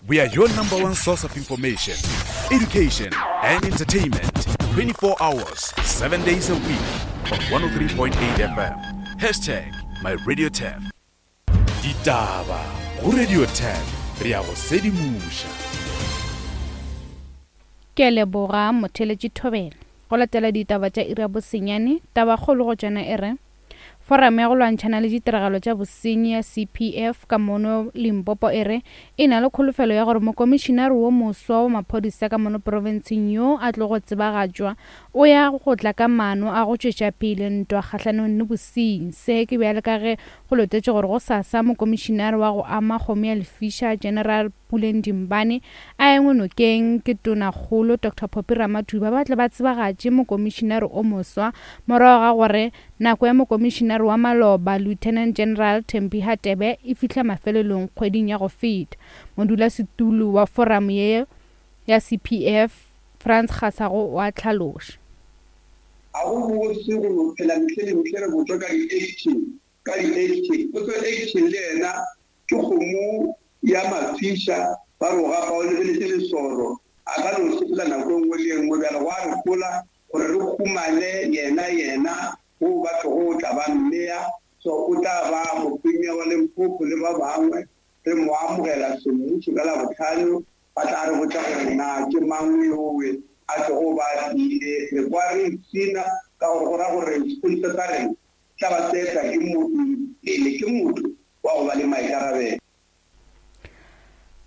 We are your number one source of information, education, and entertainment 24 hours, 7 days a week on 103.8 FM. Hashtag my radio tap. Ditaba go Radio Tap re ya go sedimoša. Ke a leboga motheletši Thobela. Go latela ditaba tša iri ya bosenyane, tabakgolo go tšona e re, Foramo ya go lwantšhana le ditiragalo tša bosenyi ya CPF ka mono Limpopo e re e na le kholofelo ya gore mokomišinare wo moswa wa maphodisa ka mono profenseng yo a tlogo tsebagatšwa o ya go tla ka maano a go tšwetša pele ntwa kgahlanong le bosenyi. Se ke bjale ka ge go letetšwe gore gosasa mokomišinare wa go ama kgomo ya lefiša General Puleng Dimbane a engwe nokeng ke Tonakgolo Doctor Phophi Ramathuba ba tle ba tsebagatše mokomišinare o moswa morago ga gore nako ya mokomišinare wa maloba Lieutenant General Thembi Hadebe e fihla mafelelong kgweding ya go feta. Modulasetulo wa foramo ye ya CPF Frans Kgasago o a hlaloša. Ga go bose go no phela mehle le mehle re botšwa ka di-action, ka di-action. Potso action le yena Ke kgomo ya mafiša, ba re o gapa o lebeletše lesoro, a ka no sepela nako e nngwe le e nngwe. Bjale gwa re hola gore re humane yena, yena wo ba tlogo o tla ba mmea, so o tla ba mopremia wa Limpopo le ba bangwe. Re mo amogela semmušo ka Labohlano, ba tla re botša gore na ke mang yowe a tlogo ba a tlile. Re kwa re ipshina ka gore go ra gore sepodisa sa rena tla ba se etla ke motho pele ke motho wa go ba le maikarabelo.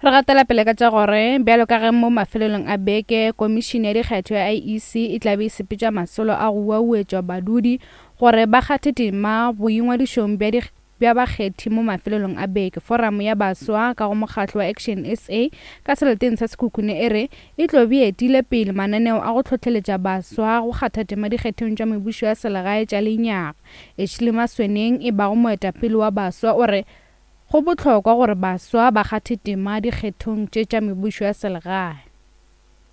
Re gatela pele ka tša gore bjalo ka ge mo mafelelong a beke Komišene ya Dikgetho ya IEC e tla be e sepetša masolo a go uauetšwa badudi gore ba kgathe tema boingwadišong bja bja bakgethi mo mafelelong a beke, Foramo ya Baswa ka go mokgatlo wa Action SA ka seleteng sa Sekhukhune e re e tlo be e etile pele mananeo a go hlohleletša baswa go kgatha tema dikgethong tša mebušo ya selegae tša lenyaga. Ashley Masweneng e bago moetapele wa baswa o re go bohlokwa gore baswa ba kgathe tema dikgethong tše tša mebušo ya selegae.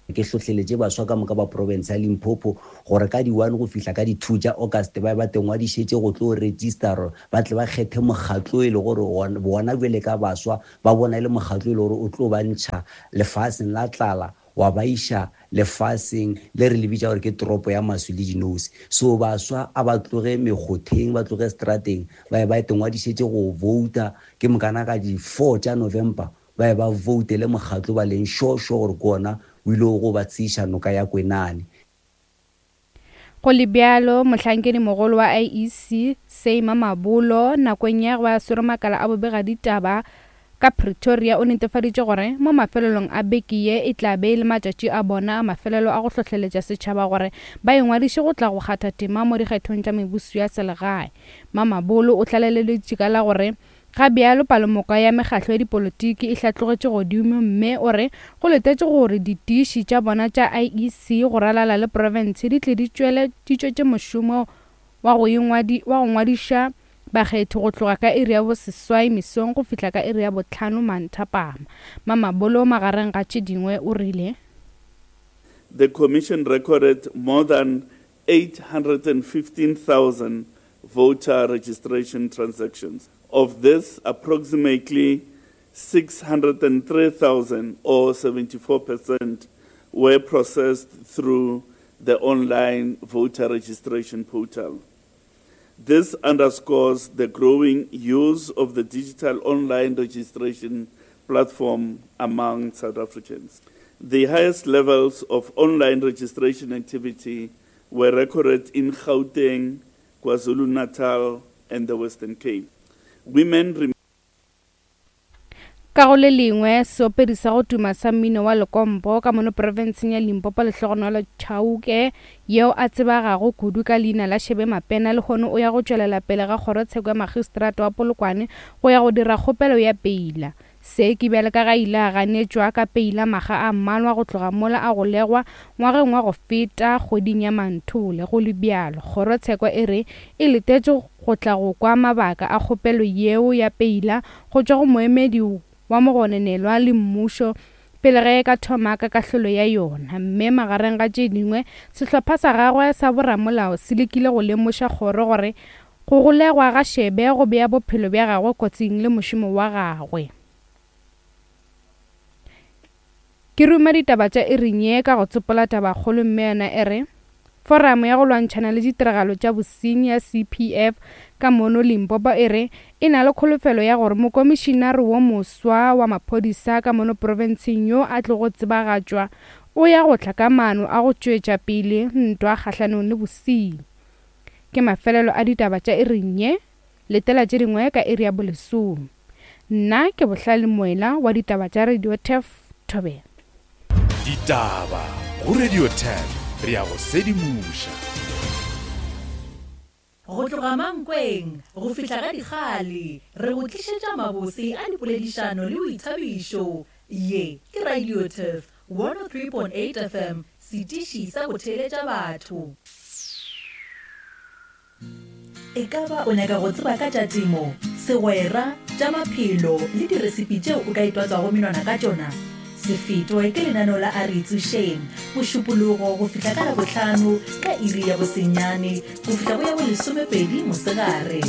Ke hlohleletše baswa ka moka ba profense ya Limpopo gore ka di one go fihla ka di two tša August ba be ba tengwadišetše go tlo register ba tle ba kgethe mokgatlo e le gore bona bjale ka baswa Ba bona e le mokgatlo e le gore o tlo ba ntšha lefaseng la tlala wa ba iša lefaseng le re le bitša gore ke toropo ya maswi le dinose. So baswa a ba tloge mekgotheng, ba tloge strateng, ba ye ba itengwadišetše go vouta, ke mokana ka di four tša November ba ye ba voutele mokgatlo ba leng sure sure gore ke ona o ile go ba tseiša noka ya Kwenane. Go le bjalo, mohlankedimogolo wa IEC, Seima Mabolo, nakong ya ge a swere makala a bobegaditaba ka Pretoria o netefaditše gore mo mafelelong a beke ye e tla be e le matšatši a bona a mafelelo a go hlohleletša setšhaba gore ba ingwadiše go tla go kgatha tema mo dikgethong tša mebuso ya selegae. Mamabolo o tlaleleditše ka la gore Ga bjalo palomoka ya mekgatlo ya dipolotiki e hlatlogetše godimo mme o re go letetšwe gore ditiši tša bona tša IEC go ralala le profense di tle di tšwele di tšwetše mošomo wa go ingwadi wa go ngwadiša bakgethi go tloga ka iri ya boseswai mesong go fihla ka iri ya bohlano manthapama. Mamabolo magareng ga tše dingwe o rile. The commission recorded more than 815,000 voter registration transactions. Of this, approximately 603,000 or 74% were processed through the online voter registration portal. This underscores the growing use of the digital online registration platform among South Africans. The highest levels of online registration activity were recorded in Gauteng, KwaZulu-Natal and the Western Cape. Women Ka go le lengwe, seopedi sa go tuma sa mmino wa lekompo ka mono profenseng ya Limpopo Lehlogonolo Chauke yeo a tsebagago kudu ka leina la Shebe Mapena lehono o ya go tšwelela pele ga kgorotsheko ya magistrata wa Polokwane go ya go dira kgopelo ya peila. Se ke bjale ka ge a ile a ganetšwa ka peila makga a mmalwa go tloga mola a golegwa ngwageng wa go feta kgweding ya Manthole. Go le bjalo, kgorotsheko e re e letetše go tla go kwa mabaka a kgopelo yeo ya peila go tšwa go moemedi wa mogononelwa le mmušo pele ge e ka thoma ka kahlolo ya yona. Mme magareng ga tše dingwe, sehlopha sa gagwe sa boramolao se lekile go lemoša kgoro gore Go golegwa ga Shebe go bea bophelo bja gagwe kotsing le mošomo wa gagwe. Ke ruma ditaba tša iring ye ka go tsopola tabakgolo mme yona e re, Foramo ya go lwantšhana le ditiragalo tša bosenyi ya CPF ka mono Limpopo e re e na le kholofelo ya gore mokomišinare wo moswa wa maphodisa ka mono profenseng yo a tlogo tsebagatšwa o ya go tla ka maano a go tšwetša pele ntwa kgahlanong le bosenyi. Ke mafelelo a ditaba tša iring ye. Letela tše dingwe ka iri ya bolesome. Nna ke Bohlale Moela wa ditaba tša Radio Turf Thobela. Ditaba go Radio Turf, re a go sedimoša. Go tloga Mankweng go fihla ga Dikgale, re go tlišetša mabose a dipoledišano le boithabišo. Ye ke Radio Turf 103.8 FM, setiši sa go theeletša batho. E ka ba o nyaka go tseba ka tša temo, segwera, tša maphelo le diresipi tšeo o ka itwatswago menwana ka tšona? Se fetwe ke lenaneo la A Re Itsošeng, Mošupologo go fihla ka Labohlano ka iri ya bosenyane go fihla go ya bolesomepedi mosegare.